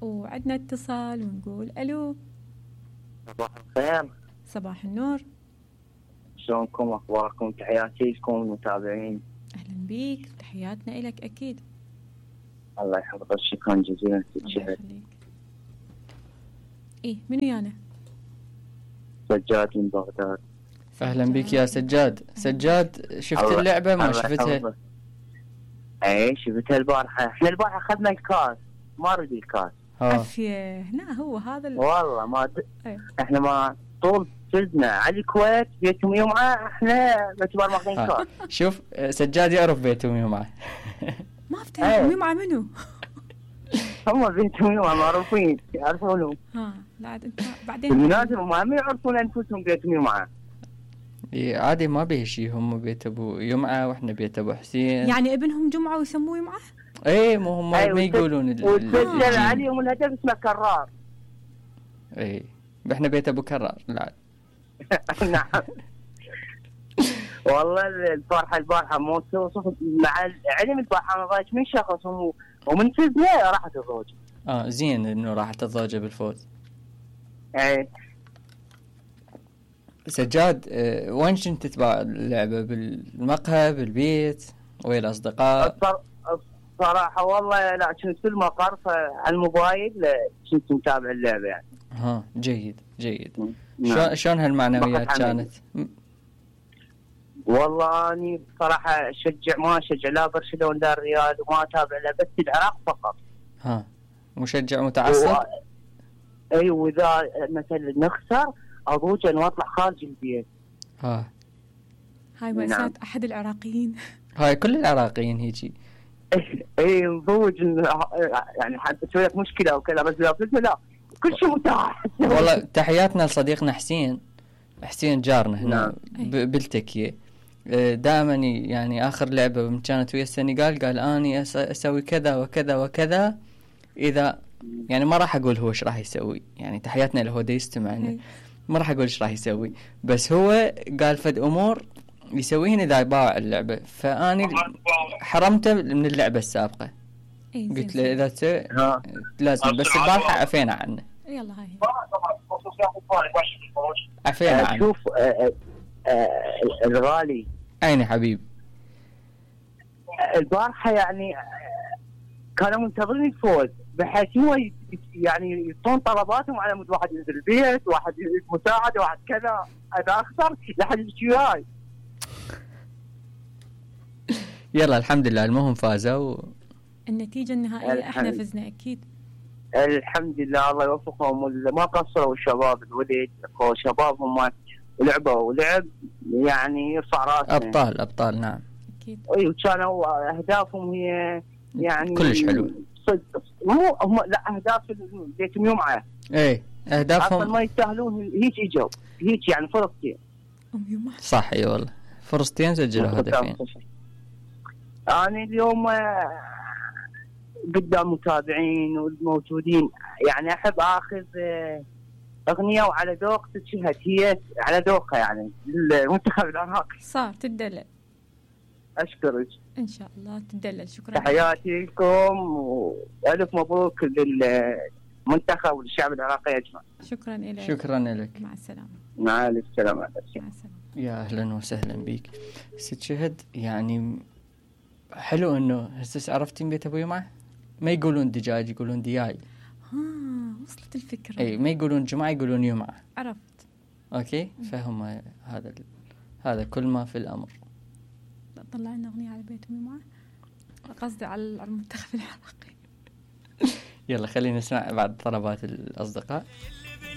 وعندنا اتصال ونقول الو. صباح الخير. صباح النور. شلونكم؟ اخباركم؟ تحياتي لكم المتابعين. اهلا بيك، تحياتنا لك اكيد. الله يحفظك، شكرا جزيلا. الله يخليك. ايه من ويانا؟ سجاد من بغداد. اهلا بك يا سجاد. سجاد، شفت اللعبة ما شفتها؟ اي شفتها البارحة. احنا البارحة اخذنا الكاس، ما ردي الكاس. عافية. هنا هو هذا والله ما احنا ما طول فزنا على الكويت بيتهم يومعة، احنا باعتبار ماخذين كاس. شوف سجاد يعرف بيتهم يومعة. ما افتهم يومعة منو؟ هم بنتهم يومعة معروفين يعرفونهم. لا انت بعدين بالمناسبة ما يعرفون انفسهم بيتهم يومعة. إيه عادي ما به شيء، هم بيت ابو يمعة واحنا بيت ابو حسين. يعني ابنهم جمعة ويسموه يمعة؟ ايه مو هم ما يقولون وتسجل عليهم الهدف اسمه كرار. ايه احنا بيت ابو كرار. لا نعم. والله البارحة مو توصف مع علم البارحة ما ضايج من شخص ومن فزنا راحت الزوجة. زين انه راحت الزوجة بالفوز. ايه سجاد، وين كنت تتابع اللعبة؟ بالمقهى، بالبيت، ويا الأصدقاء؟ صراحة والله لا، كنت في المقر على الموبايل، كنت متابع اللعبة يعني. جيد جيد. شلون هالمعنويات كانت؟ والله أني صراحة ما أشجع لا برشلونة لا الريال، وما أتابع لا بس العراق فقط. مشجع متعصب؟ أي، وإذا مثلا نخسر أضوج أن أطلع خارج البيت. هاي مأساة أحد العراقيين. هاي كل العراقيين هيجي. اي نضوج يعني حتى تسوي لك مشكلة أو كذا، بس لا كل شيء متاح. والله تحياتنا لصديقنا حسين جارنا هنا بالتكية. دائما يعني آخر لعبة كانت ويا السنغال قال أني أسوي كذا وكذا وكذا. إذا يعني ما راح أقول هو إيش راح يسوي، يعني تحياتنا له، دا يستمعنا، ما راح أقول إيش راح يسوي، بس هو قال فد أمور يسويهن إذا يباع اللعبة، فأني حرمته من اللعبة السابقة. قلت له إذا تسوي لازم، بس البارحة عفينا عنه. يلا هاي عفينا عنه. شوف الغالي عيني حبيب، البارحة يعني كانوا منتظرين الفوز، بحيث هو يعني يطون طلباتهم على مود واحد ينزل البيت، واحد مساعدة، واحد كذا. إذا أخسر لحد يشتري هاي. يلا الحمد لله المهم فازوا. النتيجة النهائية احنا فزنا اكيد. الحمد لله، الله يوفقهم، ما قصروا الشباب الولد وشبابهم لعبوا يعني يرفع راسنا. ابطال نعم اكيد. اي، وكانوا اهدافهم هي يعني كلش حلو. مو لا اهداف بيتهم يومعة. ايه اهدافهم اصلا ما يستاهلون هيك اجوا هيك يعني فرصتين. صح اي والله فرصتين سجلوا هدفين. أنا اليوم قدام متابعين والموجودين يعني أحب أخذ أغنية وعلى ذوق تشهد هي على ذوقها يعني المنتخب العراقي. صار تدلل. أشكرك. إن شاء الله تدلل. شكرا. تحياتي لكم وألف مبروك للمنتخب والشعب العراقي أجمع. شكرا لك. شكرا لك. مع السلامة. مع السلامة. مع السلامة. يا أهلا وسهلا بك ست شهد. يعني حلو انه هسه عرفتين بيت ابو يمعة ما يقولون دجاج يقولون دياي. وصلت الفكرة. اي ما يقولون جمعة يقولون يمعة. عرفت. اوكي فهم هذا كل ما في الامر. طلع لنا اغنية على بيت ابو يمعة، قصدي على المنتخب العراقي. يلا خلينا نسمع بعد طلبات الاصدقاء.